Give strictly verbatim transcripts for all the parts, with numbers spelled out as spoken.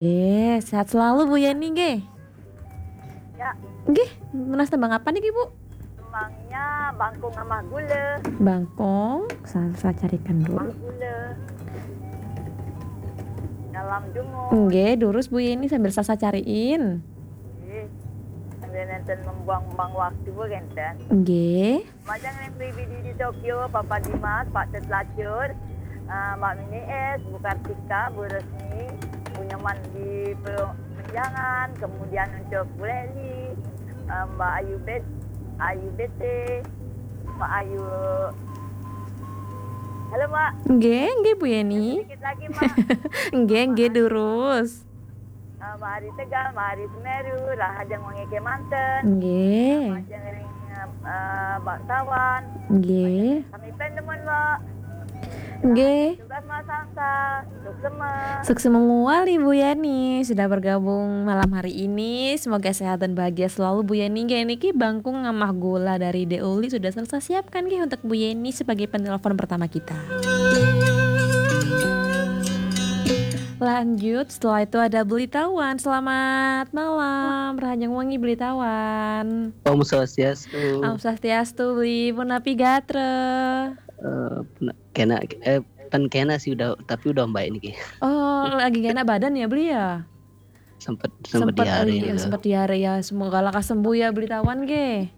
Eh, sehat selalu Bu Yeni nggih. Ya, Nggih, nunas tembang apa niki Bu? Tembangnya Bangkong Amah Gula. Bangkong, saya carikan dulu. Amah Gula. Dalam dungu. Nggih, durus Bu Yeni sambil saya cariin. Nggih. Sambil nenten membuang-buang waktu Bu kenten. Nggih. Majang yang pribadi di Tokyo, Papa Dimas, Pak Tet Lacur, eh, Mbak Mini S, Bu Kartika, Bu Resmi, Bu Nyoman di Pe- Menjangan, kemudian untuk Bu Leli, eh, Mbak Ayu Bet, Ayu B T, Mbak Ayu. Halo Mbak, Nggih, nggih Bu Yeni. Sedikit lagi Mbak. Nggih, nggih durus. Eh, Mbak Ari Tegal, Mbak Ari Semeru, Rahajeng Wengi Kemanten. Nggih. Majang ring eh, Mbak Tawan. Nggih. Kami pen teman Mbak. Nggih. Tugas Mbak Salsa. Suksema. Suksema muali Bu Yeni sudah bergabung malam hari ini. Semoga sehat dan bahagia selalu Bu Yeni. Nggih, niki Bangkong Amah Gula dari De Uli sudah saya siapkan nggih untuk Bu Yeni sebagai penelpon pertama kita. Lanjut, setelah itu ada Beli Tawan. Selamat malam, Rahajeng Wengi Beli Tawan. Om Swastiastu. Om Swastiastu, Beli. Punapi gatra? Eh, pena- kena eh pen kena sih udah, tapi udah baik niki. Oh, lagi gak enak badan ya Beli ya? Sempat sempat diare iya, gitu. Sempat diare ya. Semoga lekas sembuh ya Beli Tawan nggih.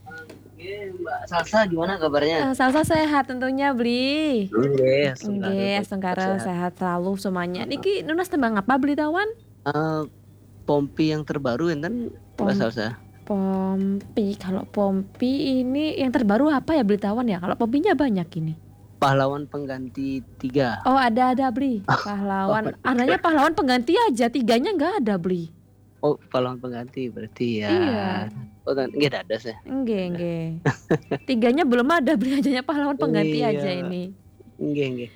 Oke, Mbak Salsa gimana kabarnya? Eh, Salsa sehat tentunya Beli. Nggih, Nggih, astungkara sehat selalu semuanya. Niki nunas tembang apa Beli Tawan? Eh, Pompi yang terbaru enten Mbak Pom- Salsa. Pompi, kalau Pompi ini yang terbaru apa ya Beli Tawan ya? Kalau Pompinya banyak ini. Pahlawan pengganti tiga. Oh, ada ada Beli. Pahlawan. Adanya pahlawan pengganti aja, tiganya nggak ada Beli. Oh, pahlawan pengganti berarti ya. Iya. Oh, tan- nggih dados ya. Nggih, nggih. Tiganya belum ada Beli, adanya pahlawan pengganti Iya. Aja ini. Nggih, nggih.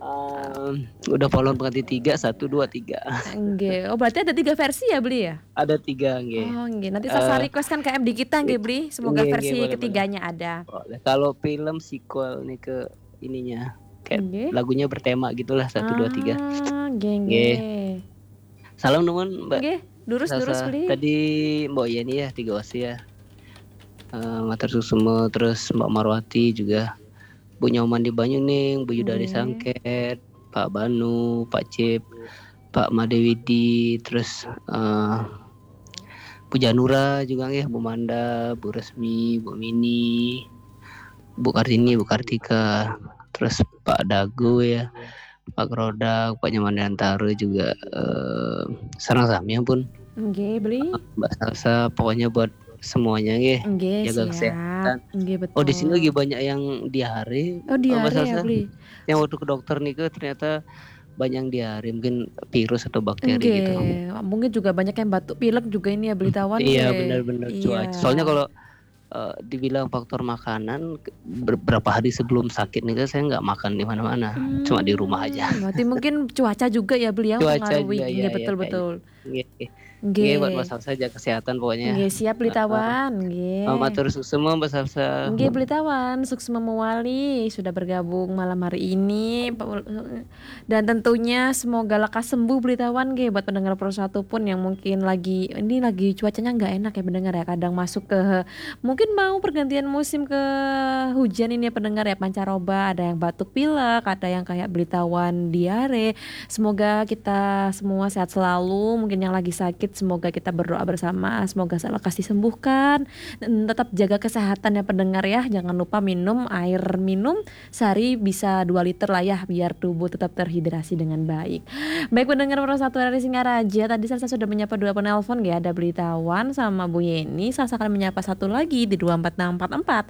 Em, udah pahlawan pengganti tiga, satu, dua, tiga. Nggih. Oh, berarti ada tiga versi ya Beli ya? Ada tiga, nggih. Oh, nggih. Nanti saya Eh, request kan K M di kita nggih Beli. Semoga Nggih, versi nggih, boleh, ketiganya ada. Boleh. Kalau film sequel nih ke ininya, kayak Nggih. Lagunya bertema gitulah, satu, dua, tiga. Ah, nggih, Nggih. nggih. Salam nuwun Mbak Nggih, durus durus Salsa. Beli. Tadi Mbak Yeni ya, tiga Osi ya. Eh, matur suksema, terus Mbak Marwati juga. Bu Nyoman di Banyuning, Bu Yudari Nggih. Sangket, Pak Banu, Pak Cip, Pak Madewidi, terus eh, Bu Janura juga nggih, Bu Manda, Bu Resmi, Bu Mini, Bu Kartini, Bu Kartika, terus Pak Dago ya, Pak Rodak, Pak Nyoman Dantara juga eh, sareng sami pun Nggih, Beli. Mbak Salsa, pokoknya buat semuanya nggih. Nggih, Jaga siap. kesehatan. Nggih, betul. Oh, di sini lagi banyak yang diare. Oh, Mbak diare ya, Salsa. Beli. Yang waktu ke dokter nih ternyata banyak yang diare, mungkin virus atau bakteri gitu. Nggih, mungkin juga banyak yang batuk pilek juga ini ya Beli Tawan Iya, nggih. benar-benar cuaca. Iya. Soalnya kalau eh, dibilang faktor makanan, ber- berapa hari sebelum sakit nih saya nggak makan di mana-mana, cuma di rumah aja. Hmm, berarti mungkin cuaca juga ya Beli yang Cuaca mempengaruhi. juga, Nggih, ya, ya, betul kayak betul. Nggih, nggih, buat Nggih. Mbak Salsa jaga kesehatan pokoknya. Nggih, siap Beli Tawan, nggih. Eh, matur suksema Mbak Salsa. Nggih, Beli Tawan, suksma mewali sudah bergabung malam hari ini. Dan tentunya semoga lekas sembuh Beli Tawan nggih buat pendengar Pro Satu pun yang mungkin lagi, ini lagi cuacanya nggak enak ya pendengar ya. Kadang masuk ke, mungkin mau pergantian musim ke hujan ini ya pendengar ya, pancaroba, ada yang batuk pilek, ada yang kayak Beli Tawan diare. Semoga kita semua sehat selalu. Mungkin yang lagi sakit, semoga kita berdoa bersama, semoga lekas disembuhkan. Dan tetap jaga kesehatan ya pendengar ya. Jangan lupa minum air minum sehari bisa dua liter lah ya, biar tubuh tetap terhidrasi dengan baik. Baik pendengar Pro Satu R R I Singaraja, tadi saya sudah menyapa dua penelpon ya, ada Beli Tawan sama Bu Yeni. Saya akan menyapa satu lagi di dua empat enam empat empat.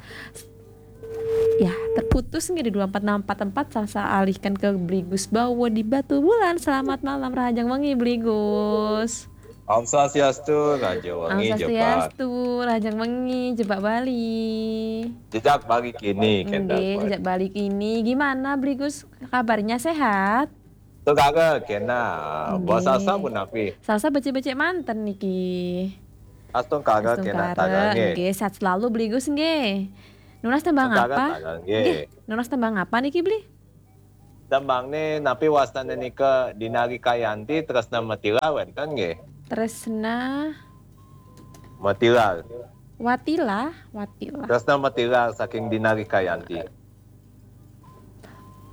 Ya, terputus nggih di dua empat enam empat empat, saya alihkan ke Beli Gus Bawo di Batubulan. Selamat malam, Rahajeng Wengi Beli Gus. Om Swastiastu, Raja Om Wengi Jepat. Swastiastu, Rahajeng Wengi, Jepat Bali. Jejak balik ini, Nggih, Kendal. Jejak Balik ini. Gimana Beli Gus, kabarnya sehat? Tuh kagak kena. Nggih. Bos Salsa pun api. Salsa becik-becik manten niki. Astung kagak kena Astungkara, tagange. Nggih, sehat selalu Beli Gus nggih. Nunas tembang Kagak apa? tagange. Nggih, nunas tembang apa niki Beli? Tembangné napi wastané nika? Dinarikayanti, Tresna Matilar wénten nggih? Tresna Matilar. Watila, Watila. Tresna Matilar saking Dinarikayanti.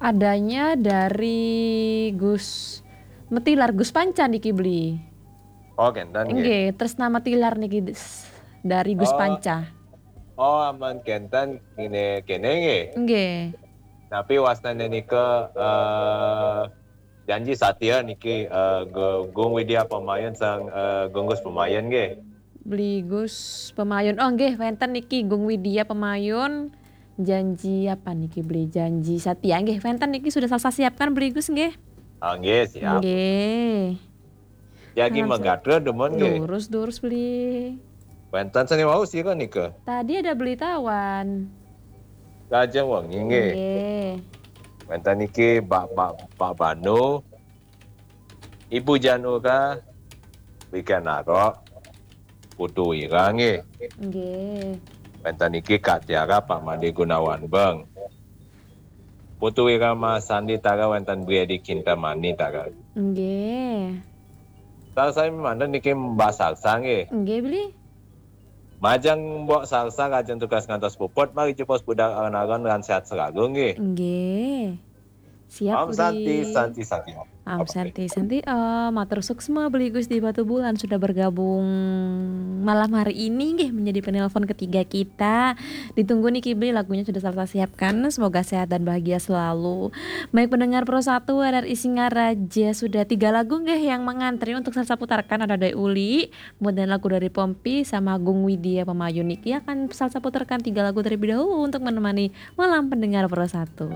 Adanya dari Gus Metilar, Gus Panca niki beli. Oh, kénten nggih. Nggih, Tresna Metilar niki des- dari Gus Oh. Panca. Oh, aman kénten ngene kene nggih. Nggih. Napi wastané nika eh, Janji Satya niki eh, Gu- Gung Widya Pamayun sang eh, Gung Gus Pamayun nggih. Beli Gus Pamayun. Oh nggih, wénten niki Gung Widya Pamayun. Janji apa niki beli? Janji Satya nggih. Wénten niki sudah saya siapkan beli Gus nggih. Ah, nggih, siap. Nggih. Jagi Langsung. Magatra demen nggih. Durus, durus beli. Wénten seni wau sira nika. Tadi ada beli tawan. Lajeng wengi nggih. Nggih. Wénten niki Pak Pak Pak Banu, Ibu Janura, Wikan Narok, Putu Wira nggih. Nggih. Wénten niki Kak Tiara, Pak Made Gunawan Beng. Putu Wira Masandi Tara, wénten Briadi Kintamani Tara. Nggih. Tara sami manten niki Mbak Sarsa nggih. Nggih beli. Majeng Mbok Sarsa, lajeng tugas ngantos puput, mari jupos budal alon-alon lan sehat selalu nggih. Nggih. Siap Om Santi, beli. Santi, Santi Om. Om Santi, Santi Om. Matur suksma beli Gus di Batubulan sudah bergabung malam hari ini nggih, menjadi penelpon ketiga kita. Ditunggu niki beli, lagunya sudah saya siapkan. Semoga sehat dan bahagia selalu. Baik pendengar Pro satu R R I Singaraja, sudah tiga lagu nggih yang mengantri untuk saya putarkan, ada dari Uli, kemudian lagu dari Pompi sama Gung Widya Pamayun niki akan saya putarkan tiga lagu terlebih dahulu untuk menemani malam pendengar Pro satu.